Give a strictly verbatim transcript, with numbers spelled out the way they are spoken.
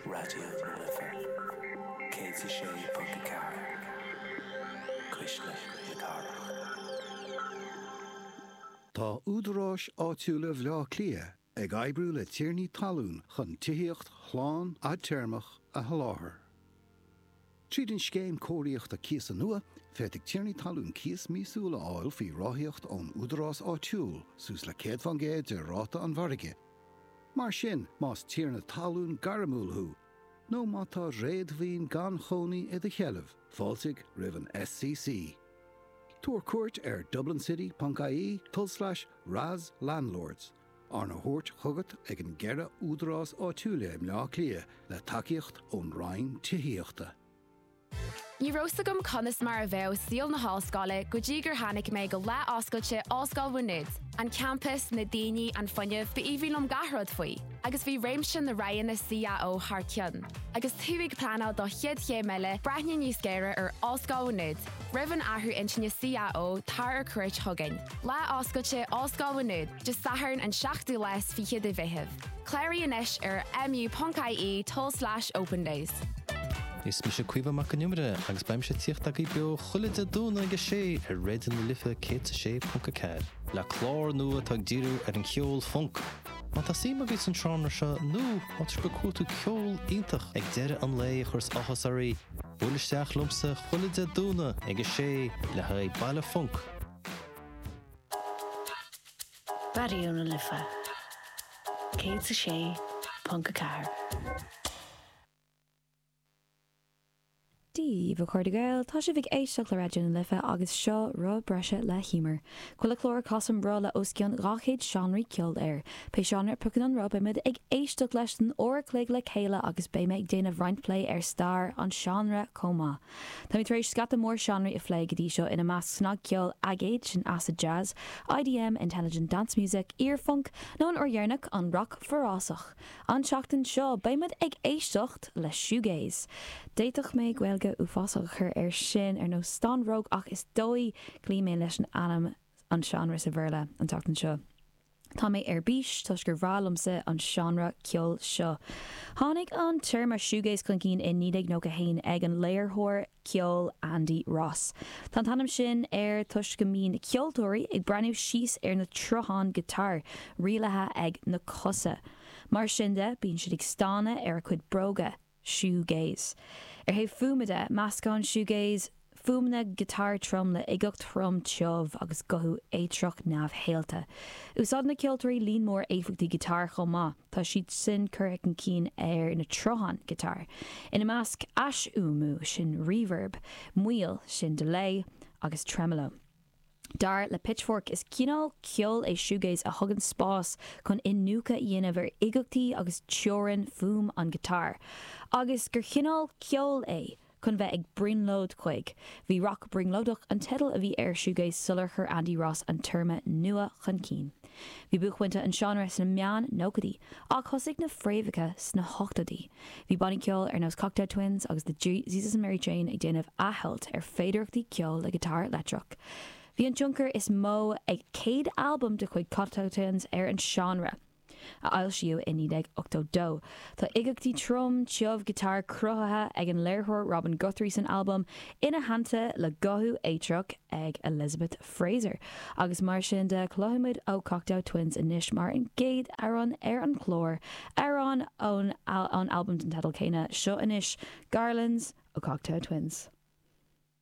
Raidió na Life céad a sé ponc a ceathair Cuisle na Cathrach. Tá údaráis áitiúla Bhaile Átha Cliath ag oibriú le tiarnaí talún chun tithíocht shlán fhadtéarmach a sholáthar. Tríd an scéim cóiríochta cíosa nua, féadfaidh tiarnaí talún cíos míosúil a fháil faoi ráthaíocht ón údarás áitiúil suas le céad faoin gcéad de ráta an mhargaidh. Mar sin, más tiarna talún gairmiúil thú, nó má tá réadmhaoin gan chónaí i do sheilbh, fáiltigh roimh an SCC. Tabhair cuairt ar dublincity.ie tulslais RAS Landlords, arna thabhairt chugat ag an gceithre údarás áitiúla i mBaile Átha Cliath le tacaíocht ón Roinn Tithíochta. Ní raibh a fhios agam conas mar a bheadh saol na hollscoile go dtí gur tháinig mé go lá oscailte Ollscoil Mhá Nuad. An campas, na daoine, an fuinneamh, b'aoibhinn liom gach rud faoi, agus bhí réimse na roghanna CAO thar cionn. Agus tú ag pleanáil do chéad chéim eile breathnaigh níos géire ar Ollscoil Mhá Nuad. Roimh an athrú intinne CAO tar ar cuairt chugainn. Lá oscailte Ollscoil Mhá Nuad, Dé Sathairn an seachtú lá is fiche de Mheitheamh. Cláraigh anois ar mu.ie tulslais open days. Is mise Caoimhe Mac an Iomaire agus beimse ag tíocht agaibh beo chuile Dé Domhnaigh ag a sé ar Raidió na Life céad a sé ponc a ceathair, le clár nua atá ag díriú ar an cheol func. Má tá suim agaibh san seánra seo nó má tá sibh ag cuartú ceol iontach ag deireadh an lae a chuireas áthas oraibh, buail isteach liomsa chuile Dé Domhnaigh ag a sé le haghaidh Baile Func. Raidió na Life céad a sé ponc a ceathair. Dia daoibh a chairde Gael, tá sibh ag éisteacht le Raidió na Life agus seo Roth Breise le hEmer. Chuile chlár casaim roth le os cionn dhá chéad seánraí ceoil air. Pé seánra a phiocann an roth beimid ag éisteacht leis don uair a chloig le chéile agus beidh mé ag déanamh roinnt plé ar stair an seánra chomh maith. Táimid tar éis scata mór seánraí a phlé go dtí seo ina measc snagcheol aigéid sin acid jazz, IDM, Intelligent Dance Music, iar-phunc, nó an uair dheireanach an roc forásach. An tseachtain seo beimid ag éisteacht le shoegaze. D'fhéadfadh mé Gaeilge uafásach a chur air sin ar nós stán-bhróg ach is dóigh cloí mé leis an ainm an seánra sa Bhéarla an tseachtain seo. Tá mé ar bís toisc gur bhreá liomsa an seánra ceoil seo. Tháinig an téarma shoegaze chun cinn in naoi déag nócha haon ag an léiritheoir ceoil Andy Ross. Tá an t-ainm sin air toisc go mbíonn na ceoltóirí ag breathnú síos ar na troitheáin guitar rialaithe ag na cosa. Mar sin de, bíonn siad ag stánadh ar a cuid bróga. Shoegaze. Ar thaobh fuaime de, meascann shoegaze fuaimeanna giotár trom le uigeacht throm tiubh agus guthú éitreach neamhshaolta. Úsáideann na ceoltóirí líon mór éifeachtaí giotáir chomh maith, tá siad sin curtha chun cinn ar na troitheáin giotáir. Ina measc, aisfhuaimniú, sin reverb, moill, sin delay, agus tremolo. Dar le Pitchfork, is cineál ceoil é shoegaze a thugann spás chun iniúchadh a dhéanamh ar uigeachtaí agus teorainn fuaim an ghiotáir, agus gur chineál ceoil é chun bheith ag brionglóid chuig. Bhí rac brionglóideach an teideal a bhí ar shoegaze sular chuir Andy Ross an téarma nua chun cinn. Bhí buaicphointe an seánra sna meán-nóchaidí, ach thosaigh na fréamhacha sna hochtóidí. Bhí bannaí ceoil ar nós Cocteau Twins agus The Jesus and Mary Chain ag déanamh athcheilt ar féidearthachtaí ceoil le giotár leictreach. Bhí an tionchar is mó ag céad albam de chuid Cocteau Twins ar an seánra, a foilsíodh i naoi déag ochtó dó. Tá uigeachtaí trom tiubh giotár cruthaithe ag an léiritheoir Robin Guthrie san albam, ina theannta le guthú éitreach ag Elizabeth Fraser. Agus mar sin de, cloisfimid ó Cocteau Twins anois mar an gcéad amhrán ar an chlár, amhrán ón albam den teideal céanna. Seo anois Garlands ó Cocteau Twins.